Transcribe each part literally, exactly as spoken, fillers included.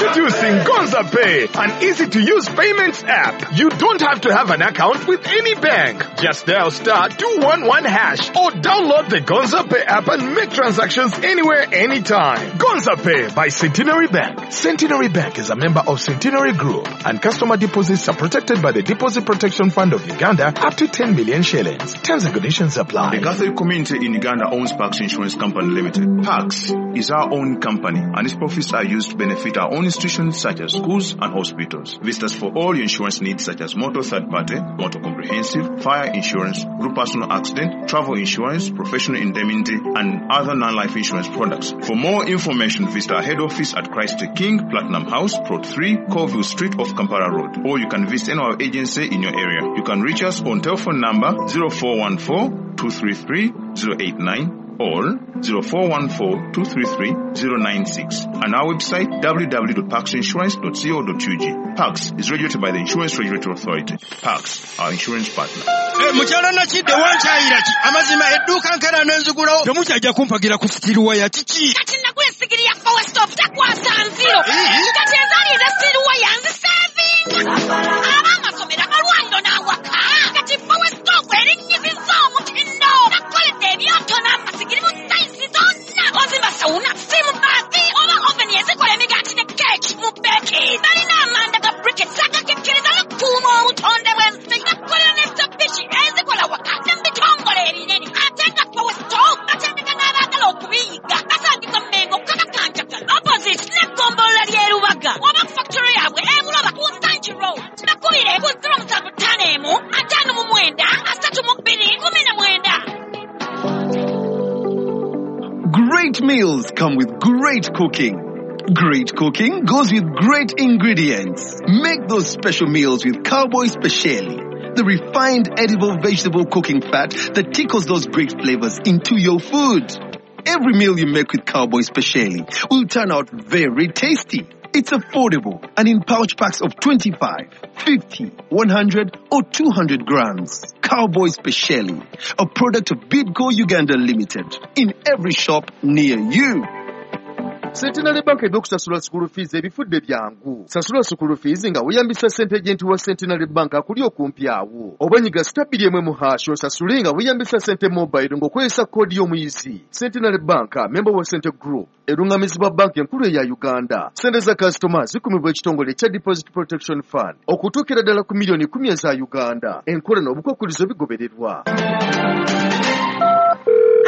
Introducing Gonza Pay, an easy-to-use payments app. You don't have to have an account with any bank. Just dial star two one one hash or download the Gonza Pay app and make transactions anywhere, anytime. Gonza Pay by Centenary Bank. Centenary Bank is a member of Centenary Group, and customer deposits are protected by the Deposit Protection Fund of Uganda up to ten million shillings. Terms and conditions apply. The Catholic community in Uganda owns Pax Insurance Company Limited. Pax is our own company, and its profits are used to benefit our own institutions such as schools and hospitals. Visit us for all your insurance needs such as motor third party, motor comprehensive, fire insurance, group personal accident, travel insurance, professional indemnity, and other non-life insurance products. For more information, visit our head office at Christ the King, Platinum House, Plot three, Colville Street off Kampala Road, or you can visit any of our agency in your area. You can reach us on telephone number zero four one four, two three three, zero eight nine or zero four one four, two three three, zero nine six, and our website w w w dot pax insurance dot co dot u g. Pax is regulated by the Insurance Regulatory Authority. Pax, our insurance partner. Hey, mukyala Nakidde wankyayira ki? Amazima edduuka nkera n'enzigulawo. Temukyajja kumpagira ku sitiruwa ya kiki? Kati nagula essigiri ya Power Stop takwasa nziro. Kati ezaali eza sitiruwa yanzisevinga. Ab'amasomero, amalwaliro n'awaka. Kati Power Stop erinnyizizza omutindo. Bakoledde ebyoto n'amasigiri mu sayizi zonna. Ozimba sauna, steam bath, oba oven ezikola emigaati ne keeki mu beki. Balina amanda ga briquettes agakekereza n'okukuuma obutonde bw'ensi. Bakolera ne Mitsubishi ezikola waka ne mu bitongole ebinene. Ate nga Power Stop batendeka n'abaagala okubiyiga. Basangibwa Mmengo, Kabaka opposite n'eggombolola ly'e Lubaga. Oba ku factory yaabwe e Buloba ku Nsangi Road. Bakubire ku zero musanvu ttaano emu, ataano mu mwenda, asatu mu bbiri, kumi na mwenda. Great meals come with great cooking. Great cooking goes with great ingredients. Make those special meals with Cowboy Speciali, the refined edible vegetable cooking fat that tickles those great flavors into your food. Every meal you make with Cowboy Speciali will turn out very tasty. It's affordable and in pouch packs of twenty-five, fifty, one hundred or two hundred grams. Cowboy Speciali, a product of Bidco Uganda Limited, in every shop near you. Centenary Bank ebyokusasula school fees ebifudde byangu. Sasula school fees nga weeyambisa ssente agent wa Centenary Bank akuli okumpi awo. Oba nyiga star bbiri emu mu hash osasule nga weeyambisa ssente mobile ng'okozesa koodi y'omuyizi. Centenary Bank, member wa Cente Group, erungamizibwa banki enkulu eya Uganda. Ssente za kasitoma zikumibwa ekitongole ekya Deposit Protection Fund okutuukira ddala ku miliyoni kkumi eza Uganda. Enkola n'obukwakkulizo bigobererwa.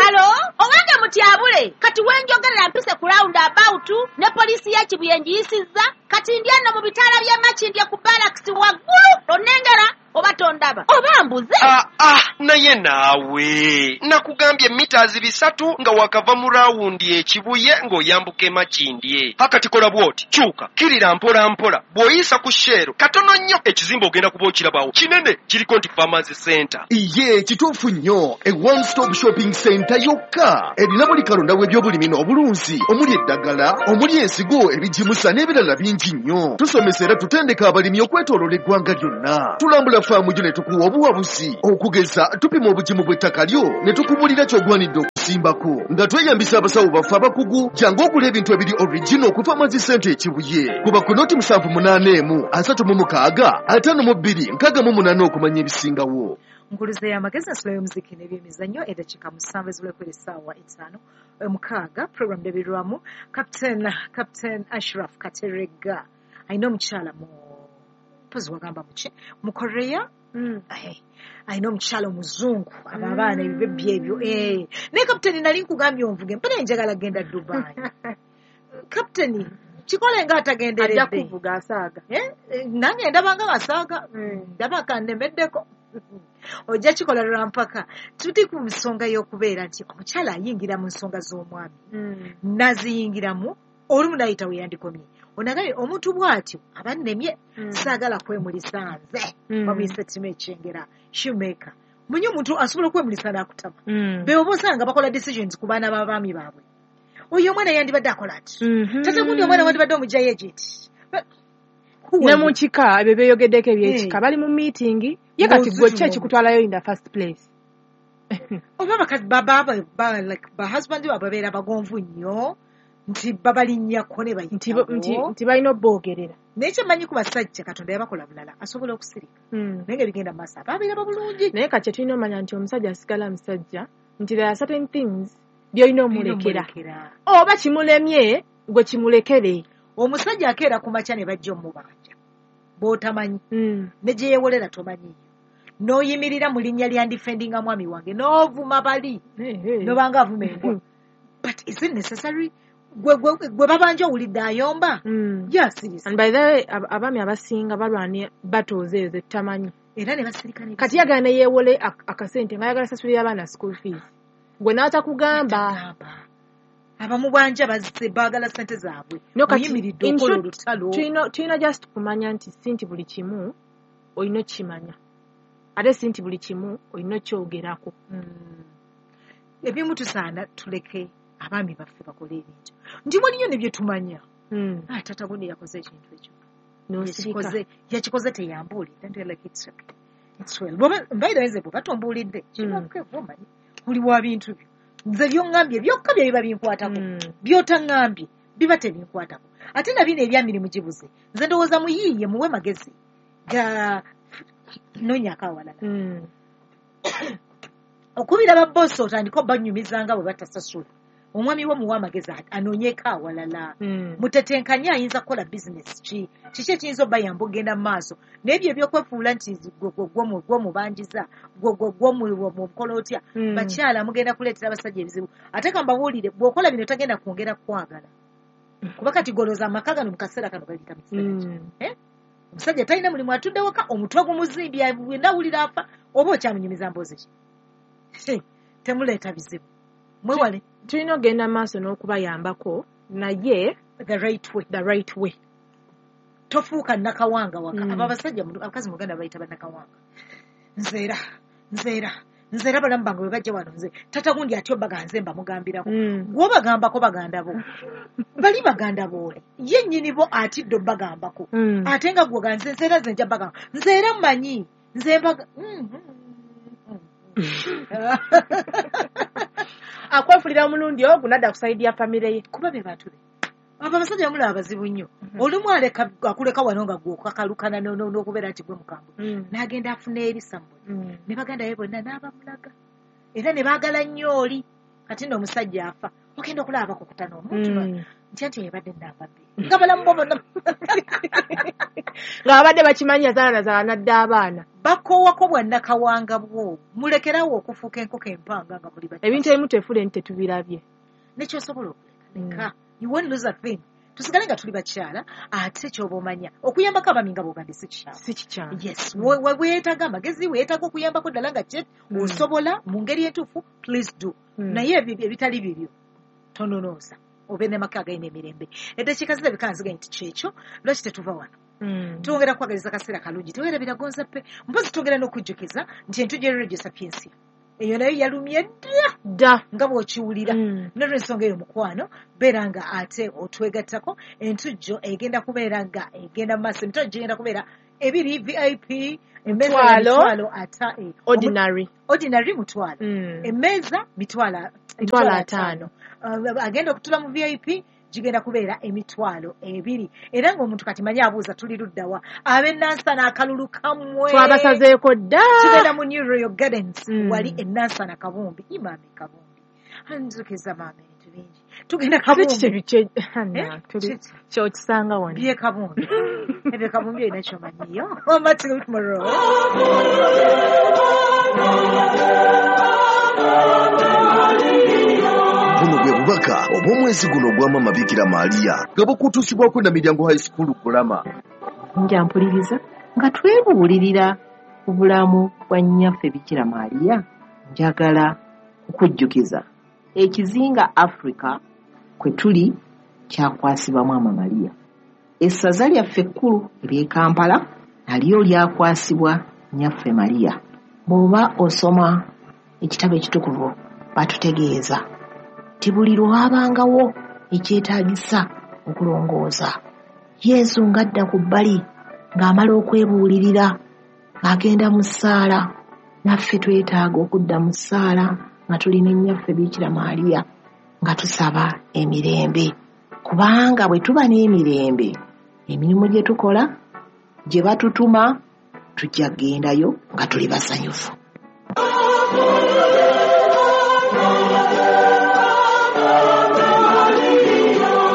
Halo, owange mutyabule, kati wenjogerera mpise ku round about ne poliisi ya Kibuye ngiyisizza, kati ndi ano mu bitaala by'e Makindye ku barracks waggulu, onnengera oba tondaba oba mbuze. Ah, ah, naye naawe nakugambye mita bisatu nga wakava mu rawundi ekibuye ng'oyambuka e Makindye. Hakati kola bw'oti, kyuka kirira mpola mpola, bw'oyisa ku Shell katono nnyo ekizimbe ogenda kuba okirabawo kinene kiriko nti Farmers Center. Iye kituufu nnyo, a one stop shopping center yokka erina buli kalonda w'ebyobulimi n'obulunzi, omuli eddagala, omuli ensigo, ebigimusa n'ebirala bingi nnyo. Tusomesa era tutendeka abalimi okwetooloola eggwanga lyonna. Tulambula faamu gyo ne tukuwa obuwabuzi, okugeza tupima obugimu bw'ettaka lyo ne tukubulira ky'ogwanidde okusimbako nga tweyambisa abasawo baffe abakugu. Jangu ogula ebintu ebiri original ku Farmers Center e Kibuye. Kuba ku noti musanvu munaana emu asatu mu mukaaga ataano mu bbiri nkaaga mu munaana okumanya ebisingawo. Nkuluze y'amagezi ensula y'omuziki n'ebyemizannyo eddakiika musanvu ezibulako essaawa etaano mukaaga. Program ndabirwamu Captain Captain Ashraf Katerega alina omukyala mu mpozi wagamba muki mu Korea. Mm. Alina omukyala omuzungu abo abaana ebibebbi ebyo. Eh. Naye Captain nali nkugambye onvuge mpera njagala genda Dubai. Captain kikole nga atagenderedde. Ajja kuvuga asaaga. Eh? Nange ndaba nga asaaga. Ndaba kannemeddeko. Ojja kikola lwampaka. Tuli ku nsonga y'okubeera nti omukyala ayingira mu nsonga z'omwami. Naziyingiramu olumu n'ayita we yandikomye. Onagale omuntu bw'atyo aba nnemye saagala kwemulisa nze. Bamuyise Timo Ekyengera shoemaker. Munye omuntu asobola okwemulisa n'akutama. Be oba osanga bakola decisions ku baana b'abaami baabwe. Oyo omwana yandibadde akola ati. Tata gundi omwana wandibadde omuggyayo ejenti. Ne mu kika ebyo byeyogeddeko ebyekika bali mu meeting ye kati gwe ki ekikutwalayo in the first place. Oba bakazi baba ba like ba husband baabwe babeera bagonvu nnyo. Nti babalinnyako ne Nti bo- nti bayitawo. nti balina obboogerera. Naye kyemmanyi ku basajja, Katonda yabakola bulala, asobola okusirika. Mm. Naye nga ebigenda mu maaso abaabiraba bulungi. Naye kati kyetulina omanya nti omusajja asigala musajja, nti there are certain things by'olina omulekera. Omulekera. Oba kimulemye, gwe kimulekere. Omusajja akeera ku makya ne bajja omubanja bw'otamanyi, Mm. ne gye yeewolera tomanyiiyo, n'oyimirira mu linnya lya ndifendinga mwami wange n'ovuma bali, Hey, hey. n'obanga avuma embwa. But is it necessary? Gwe gwe- gwe babanja owulidde ayomba? Mm. Yasirise. And by the way, ab- abaami abasinga balwana batooza ezo etamanyi. Era ne basirika ne Kati yagala ne yeewole ak- akasente ng'ayagala sasulira abaana school fees, gwe n'atakugamba. Batagamba. Abamubanja bazze baagala ssente zaabwe. No, kati Oyimiridde in okola short, olutalo. tulina tulina just kumanya nti si nti buli kimu olina okukimanya, ate si nti buli kimu olina okyogerako. Mm. Ebimu tusaana tuleke abaami baffe bakole ebintu, nti waliyo ne bye tumanya. Mm. Ah, tata gundi yakoze ekintu ekyo. N'osirika. Yakikoze, yakikoze teyambuulidde. And we're like, it's okay, it's well. Bw'oba- mbaire nze bw'oba tombuulidde, kiba omanyi oli wa bintu byo. Nze by'oŋŋambye byokka bye biba binkwatako. Mm. By'otaŋŋambye biba tebinkwatako. Ate na bino ebyamirimu gibuze, nze ndowooza muyiiye, muwe magezi ga noonyako awalala. Mm. Okubira babboosi otandike obanyumizanga bwe batasasula, omwami wo muwe amagezi anoonyeeko awalala. Mm. Mutetenkanye, ayinza kukola bizinesi ki, kiki ekiyinza obayamba okugenda mu maaso. Naye ebyo ebyokwefuula nti gwomubanjiza, gwomukola otya, Mm. bakyala mugenda kuleetera abasajja ebizibu. Ate kambabuulire, bw'okola bino tagenda kwongera kwagala, kuba kati golooza amaka gano mu kaseera kano galita mu kiseera ki. Mm. Eh? Omusajja talina mulimu, atudde waka, omutwe gumuzimbye, nawulira afa, oba okyamunyumiza mboozi ki? He, temuleeta bizibu, mwewale. Tulina okugenda mu maaso n'okubayambako, naye the right way. The right way. Tofuuka nakawanga waka. Mm. Abo abasajja mu- abakazi mu Uganda bayita bannakawanga. Nzeera, nzeera, nzeera, balamu bange bwe bajja wano, nze tata gundi atyo baga nze mbamugambirako. Mm. Gw'obagambako baganda bo, bali baganda boole ye nnyini bo atidde obbagambako. Mm. Ate nga gwe ganze nzeera, nze nja bagamba, nze era mmanyi nze mbaga. Mm, mm, mm, mm. Akwefulira omulundi ogwo nadda ku side ya famire ye. Kuba be bantu be abo. Abasajja bamulaba bazibu nnyo. Olumu aleka akuleka wano nga gwe okakalukana no- no- n'okubeera nti gwe mukambwe, Mm. n'agenda afuna eri sammwe Mm. ne baganda be bonna n'abamulaga, era ne baagala nnyo oli. Kati nno omusajja afa, ogenda okulaba bakukutana omuntu Mm. ntya nti ebadde namba bbiri nga balamu bo bonna Nga babadde bakimanyi yazaala nazaala nadda abaana. Bakoowako bwannakawanga bwo, mulekerawo okufuuka enkoko empanga nga muli bato. Ebintu ebimu tefule nti tetubirabye. Nekyosobola okuleka, leka. You won't lose a thing. Tusigale nga tuli bakyala. Ate kyoba omanya, okuyambako abaami nga bwogambye si kikyamu. Si kikyamu. Yes, we- we- weetaaga amagezi, weetaaga okuyambako ddala nga kye Mm. osobola mu ngeri entuufu, please do. Mm. Naye ebyo ebitali bibyo tononoosa, obe n'amaka agalina emirembe. Eddakiika zirabika nzigaye nti kyekyo lwaki tetuva wano. Mm. Twongera kwagaliza kaseera kalungi. Tewerabira Gonza Pay. Mpozi twongera n'okujjukiza nti entujjo Radio Sapiensia eyo nayo yalumye dda. Dda. Nga bw'okiwulira. Mm. Nolwensonga eyo, mukwano, beera nga ate otwegattako. Entujjo egenda kubeera nga egenda mu maaso, emitwalo gigenda kubeera ebiri, V I P emmeeza ya Mutwalo. mitwalo ata eh, Ordinary. Ordinary mutwalo, Mm. emmeeza mitwalo Mitwalo ataano. Uh, agenda okutula mu V I P gigenda kubeera emitwalo ebiri. Era ng'omuntu kati manyi abuuza tuli luddawa, ab'enansana akalulu kammwe Twabasazeeko dda. Tugenda mu New Royal Gardens, Mm. wali enansana Kabumbi. Imaama Kabumbi anzukiza maama ebintu bingi. Tugenda Kiki Kabumbi. kye kye Eh? tuli Kiki? kyokisanga wano. Bye Kabumbi ebyo, Kabumbi olina kyomanyiyo. Oma till tomorrow. Buno bwe bubaka obw'omwezi guno ogwa Mama Bikira Maaliya nga bukutuusibwako Namiryango High School Kulama. Nja mpuliriza nga twebuulirira ku bulamu bwa nnyaffe Bikira Maaliya. Njagala kukujjukiza ekizinga Africa kwe tuli kyakwasibwa Maama Mariya. Essaza lyaffe ekkulu ery'e Kampala nalyo lyakwasibwa nnyaffe Mariya. Bw'oba osoma ekitabo ekitukuvu, batutegeeza nti buli lwabangawo ekyetaagisa okulongoosa, Yesu ng'adda ku bbali ng'amala okwebuulirira ng'agenda mu ssaala. Naffe twetaaga okudda mu ssaala nga tuli ne nnyaffe Bikira Maaliya nga tusaba emirembe. Kubanga bwe tuba n'emirembe, emirimu gye tukola, gye batutuma, tujja kugendayo nga tuli basanyufu.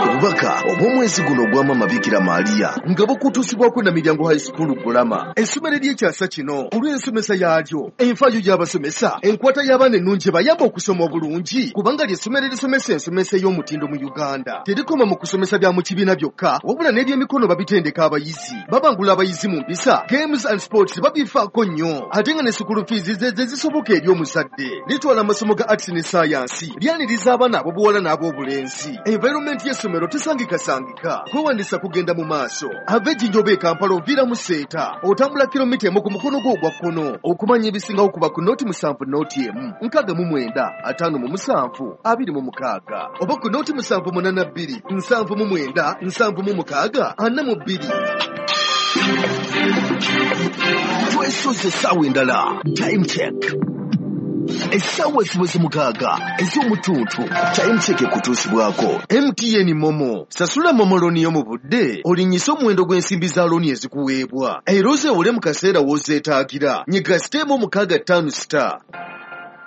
Obubaka obw'omwezi guno ogwa Maama Bikira Maria nga bukutuusibwako Namiryango High School Gulama, essomero ery'ekyasa kino olw'ensomesa yaalyo, enfaayo y'abasomesa, enkwata y'abaana ennungi ebayamba okusoma obulungi, kubanga ly'essomero erisomesa ensomesa ey'omutindo mu Uganda. Terikoma mu kusomesa bya mu kibiina byokka, wabula n'ebyemikono babitendeka abayizi, babangula abayizi mu mpisa, games and sports babifaako nnyo, ate nga ne school fees ze ze zisoboka eri omuzadde. Litwala amasomo ga arts ne science, lyaniriza abaana ab'obuwala n'ab'obulenzi. Environment y'essomero tesangikasangika, kwewandisa kugenda mu maaso. Ava Ejjinja oba e Kampala oviira mu Seeta, otambula kilomita emu ku mukono gwo ogwa kkono. Okumanya ebisingawo kuba ku nooti musanvu nooti emu nkaaga mu mwenda ataano mu musanvu abiri mu mukaaga oba ku nooti musanvu munaana bbiri nsanvu mu mwenda nsanvu mu mukaaga ana mu bbiri. Twesoze essaawa endala. Time check. Essaawa ziweze mukaaga ez'omutuntu. Time check ekutuusibwako M T N Momo. Sasula Momo looni yo mu budde, olinnyise omuwendo gw'ensimbi za looni ezikuweebwa, era ozeewole mu kaseera w'ozeetaagira. Nyiga siteemu mukaaga ttaano star.